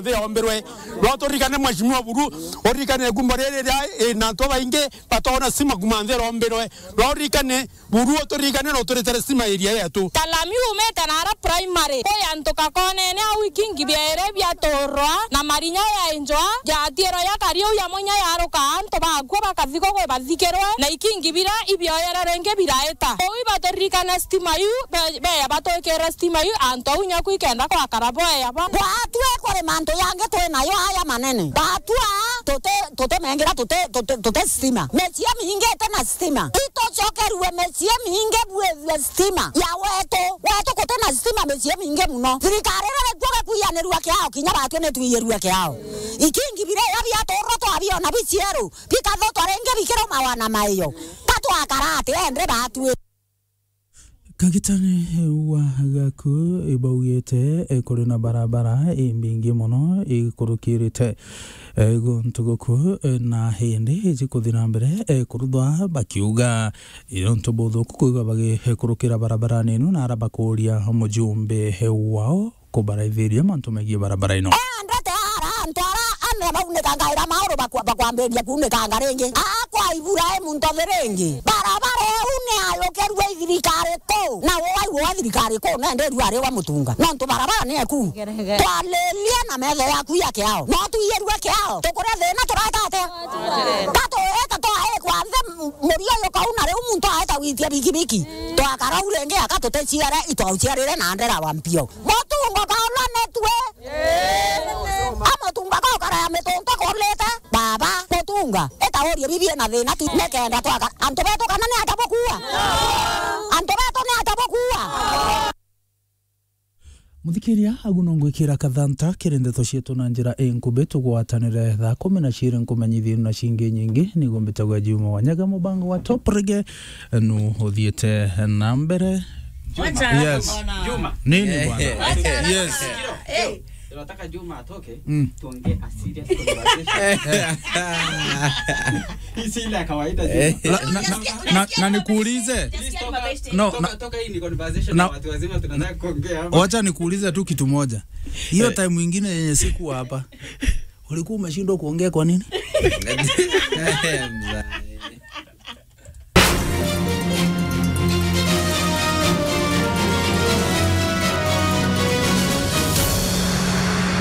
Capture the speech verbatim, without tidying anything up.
Nthi yombirwe. No turirikane Mheshimiwa Buru, uririkane ikumbo riri ria, ina antu babaingi batoona stima kuma nthi yombirwe. No uririkane Buru, uturirikane na uturitere stima area yetu. Kalami umite nara primary, kwi antu kakonene au ikingi biere biaturwa na marinya ya injwa, jatiro ya kariu ya munya yaruka antu bakua bakathikwa kwi bathikirwe, na ikingi bira ibioyere ringi biraita. Kou ibaturirikane stima iu, be-, beya batwikire stima iu, antu au nyaku ikenda kwakara boya bo. Gwatue kuri mantu yangi twi nayo aya manene. Batua tuti, tuti mengira tuti, tuti, tuti stima. Micii mingi iti na stima. Itucokerue micii mingi bwithue stima ya wetu. Wetu guti na stima micii mingi muno. Thirikari riri kuo gikuiyanirua kiao, kinya batue ni tuiyirue kiao. Ikingi biria biaturwa twabiona bicieru, bikathotwa ringi bikiraumawa na maiyo. Ka twakara ati ende batue? Kagitani wa Gaku ibaugite, eh, kuri na barabara imbingi muno ikurukirite, eh, guntu guku, eh, na hindi iji kuthi na mbere, eh, kuruthwa, bakiuga, eh, nontu buthuku kwigwa bagikurukira barabarani inu, na ara bakuria mujumbe wao kubaraithiria mantu megii barabara ino. Endete ara antu ara ane baunikanga ira mauru bakwa-, bakwambiria kuunikanga ringi. Akwa Iburaimu ntothi ringi. Barabara iu ni ayukirue i thirikari kuu. Na wai wa thirikari kuu nendirua ari wa Mutunga. Nontu barabara ni eku. Twaririe na metho yaku ya kiao. No tuiyirue kiao. Tukuria thina turaeka atia? Tatuita twaikwa nthi m-, murio yukauna riu muntu aeta gwitia bikibiki. Twakara u ringi aka tuticiare itwauciarire na ndera wa mpio. Mutunga kaulwa ni tue. A Mutunga kaukara ya mitunga kurite. Baba, Mutunga, ita urie bibi na thina tu, nikenda twaka. Antu betu kana ni aja bukua? Antu betu ni aja bukua? Muthikiria, agu no ngwikira kathanta kiri ndeto cietu na njira inkubi, tugwatanire thaa kumi na ciiri nkumenyithie na cingi nyingi. Nigo mbitagwa Juma Wanyaga, mubango wa Top Reggae nu uthiite na mbere. Wacha Yes. Bwana. Juma. Nini bwana? Wacha Yes. Bwana. Eh. Tunataka Juma atoke, Mm. tuongee a serious conversation. Hii si ile ya kawaida, Juma. La-, na, na, Nasikia, na, nasikia na mabeshte, nikuulize. Nasikia mabeshte. No, Toka, na, toka hii ni conversation na ya watu wazima tunataka kuongea hapa. Wacha nikuulize tu kitu moja. Hiyo Eh. time ingine yenye sikuwa hapa, ulikuwa umeshindwa kuongea kwa nini?